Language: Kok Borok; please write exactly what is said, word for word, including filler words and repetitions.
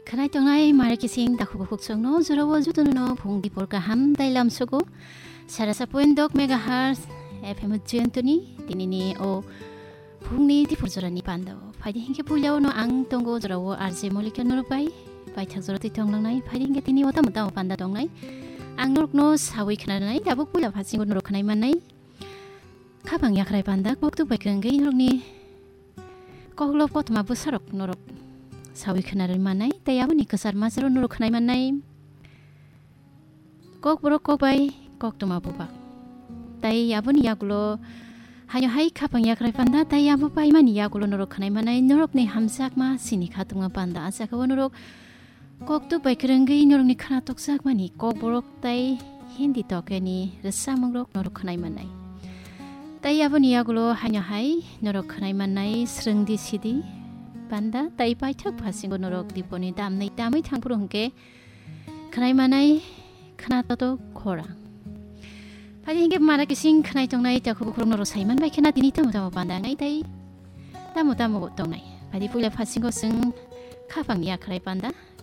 Khwnai tongnai mare kising takhuk bukhuk chwngno jorao jotono phung dipor kaham tei lamsogo. Sarasa point dok megahertz F M Jayantoni tinini o phungni dipor jorani pando. Phaidi hinkhe puilao no ang tongo jorao R J Molika norok bai paithak jora twi tonglangnai. Phaidi hinkhe tini o tamo tamo panda tongnai. Ang norokno sawi khwnanai, tabuk puila phasingo norok khwnai mannai. Khapang yakrai panda koktuk bai kwrwngwi norokni koklop kothoma bwsarok norok sawi khwnarwi mannai, tei aboni kwchar macharo norok khwnai mannai. Kokborok kokbai koktwma bubak. Tei aboni yagulo haino hai khapang yakrai panda, tei abo paimani yagulo norok khwnai mannai norokni hamjakma sini khatungma panda. A jagao norok koktuk bai kwrwngwi norokni khna tokjakmani kokborok tei Hindi tokeni rwchapmungrok norok khwnai mannai. Tei aboni yagulo haino hai norok khwnai mannai Srwngdi Sidi panda tei paithak phasingo norok diponi damnai tamwi thangphuru hwnkhe khwnai mannai Khna Toto Khorang. Phaidi hinkhe mara kising khwnai tongnai takhuk bukhuk norok saiman bai khna tini tamo tamo panda wngnai tei tamo tamo tongnai. Phaidi puila phasingo chwng khapang yakrai panda.